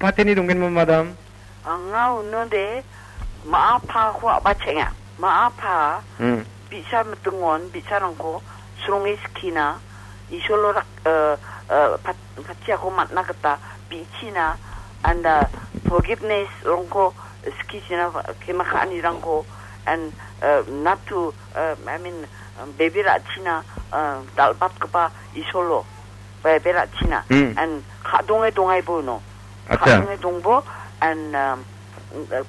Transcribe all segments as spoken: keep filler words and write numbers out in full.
Pateni donggenma, madam? Anga unode ma·a pako a·bachenga. Ma·a pa Hmm. bi·sa mitingon bi·sarangko sronge skina, Isolo rak-, eh, eh, pat-, patiako man·na gita bi·china, and, uh, forgiveness-rangko skichina, kema ka·anirangko, and, uh, not to, uh, I mean, um, bebe ra·china, uh, dal·batgipa Isolo, bebe ra·china, Hmm. and ka·donge dongaibo uno. Acha. Ka·donge dongbo, and, um,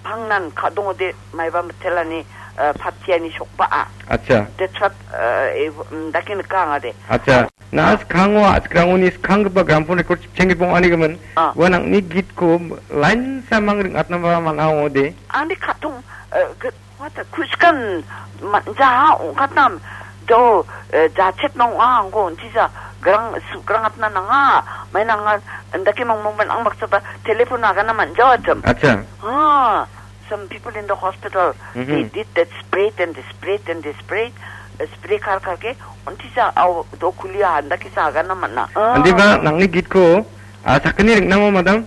pangnan ka·dongode maiba mitelani, uh, patiani sokba·a. Acha. That's what, uh, eh, mm, dake nika angade. Acha. Na Ah. skangwa, skango ni skanggipa gramophone record chipchenggipa ong·anigimin. Ah. Ua nang·ni gitko lainsamang ring·atnaba man·a ong·ode. Angni ka·tong, uh, ge-, What a kuskan manja ong·katnam. Do, eh, jachet nong a angko untisa grang, su-, grang atna nanga. Mai nanga, ndake mong mong ban ang baksaba telephone agana manja atam. Acha. Ha, some people in the hospital, Mhm. they did that spray and the spray and the spray, eh, spray kar karke, untisa au do kulia ndake sa agana mana. Ah. Andiba, nangni gitko, ah, sakgni ring·namo, madam?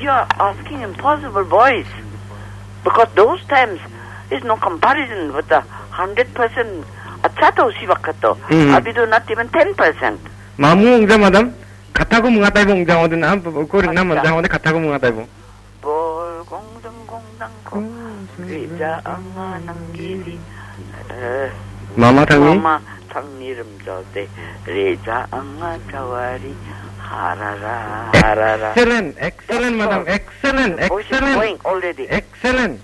You're asking impossible, boys. Because those times is no comparison with the hundred percent acha to si bakato. Mhm. Abi do not even ten percent. Mamu ongja, madam? Katako mengataibong ongja odin, ah, ko ringna Acha. Manja odin katako mengataibong. Bol gongdang gongdang ko. Gong, gong, Rija gong, anga gong, nanggili. Eh, Mama tangni? Mama tangni rimjode. Rija anga jawari. Harara, harara. Excellent, excellent, madam. Excellent, Voice is excellent. Going already. Excellent.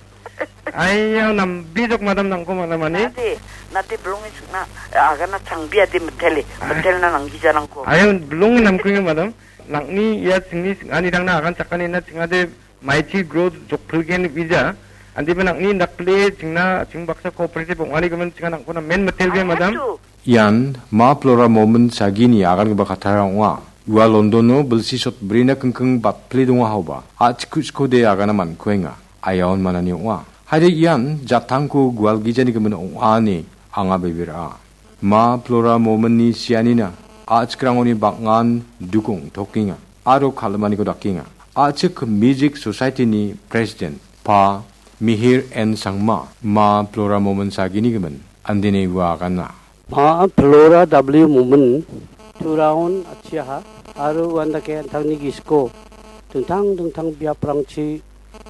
Ayo, nambijok, madam, nangko mana mani? Nate, nate belongi sukna, agana changbi ade metele, Ah. metelna nanggijanangko. Ayo, belongi namkuyo, madam. Nangni ia chingni sing-, anirangna agan chakanina chingade Maichi Growth jokpilgen wija. Andiba nangni dakple chingna, ching baksa cooperative ong·ani gimin chinga nangkona men metelbe, I have madam. To. Ian Ma Flora Momin Sagini agangipa katara ong·a. Ua Londono bilsi sotbrina kingking batpile dongahaoba, a·chik ku·chikode agana man·kuenga. Aiaon manani ong·a. Haide ian jatangko gualgijani gimin ong·a ine anga bebera. Ma Flora Mominni sianina a·chikrangoni bang·an dukong tokenga aro kal·maniko dakenga. A·chik Music Society-ni President Pa Mihir N Sangma, Ma Flora Momin Sagini gimin, andene ua agana. Ma Flora W Momin, Turaon achiaha, aro uandake an·tangni gisiko dingtang dingtang biaprangchi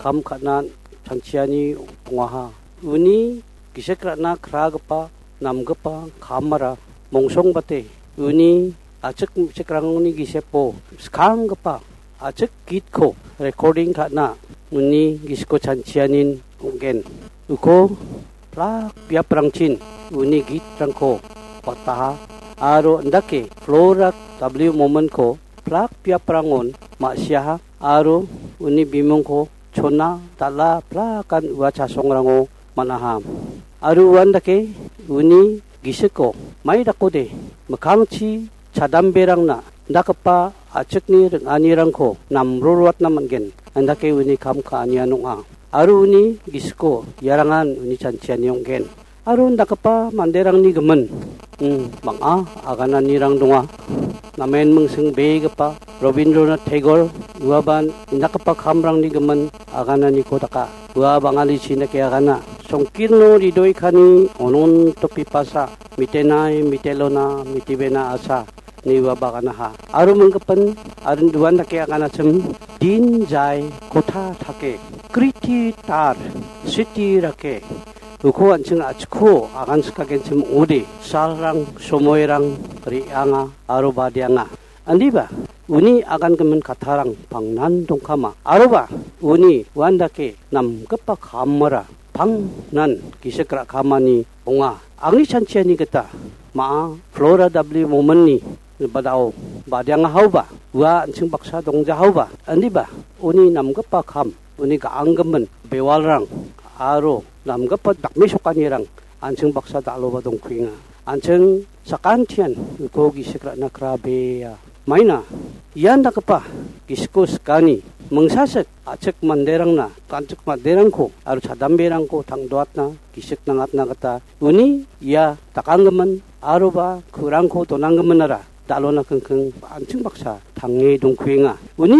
kam ka·na chanchiani dongaha. Uni gisik ra·na kragipa namgipa kamara mongsongbate uni a·chik me·chikrangni gisepo skanggipa a·chik gitko recording ka·na uni gisiko chanchianin ong·gen. Uko plak biaprangchin uni gitrangko wataha aro indake Flora W Mominko plak biaprangon ma·siaha aro uni bimungko chona dal·a plakan ua chasongrango man·aha. Aro uandake uni gisiko mai dakode mikkangchi chadamberangna indakgipa a·chikni ring·anirangko namroroatna man·gen, indake uni kam ka·anian ong·a. Aro uni gisiko iarangan uni chanchiani ong·gen. Aro indakgipa manderangni gimin, mm, bang·a agananirang donga. Namen mingsingbegipa Robindranath Tagore uaban indakgipa kamrangni gimin agananiko daka. Ua bang·alichi indake agana. Songkirno ridoikani ononto pipasa, mitenai mitelona mitibena asa. Niwa baganaha. Aro minggipan, aro duan dake aganachim, din jai kotha thake, kriti tar, siti rake, uko an·ching a·chikko agan sikagenchim ong·ode, salrang, somoirang re·anga aro badianga. Indiba, uni agangimin kattarang pangnan dongkama. Aroba, uni uandake namgipa kamara pangnan gisik ra·kamani ong·a. Angni chanchiani gita ma·a Flora W Mominni badao badiangahaoba, ua an·ching baksa dongjahaoba, indiba uni namgipa kam, uni ga·anggimin bewalrang aro namgipa dakmesokanirang an·ching baksa dal·oba dongkuenga. An·ching sakantian uko gisik ra·na krabea. Maina ian dakgipa gisiko sikani mingsasik a·chik manderangna, ganchik manderangko aro chadamberangko tang·doatna, gisik nangatna gita uni ia dakanggimin aroba ku·rangko donanggiminara dal·ona kingking an·ching baksa tange dongkuenga. Uni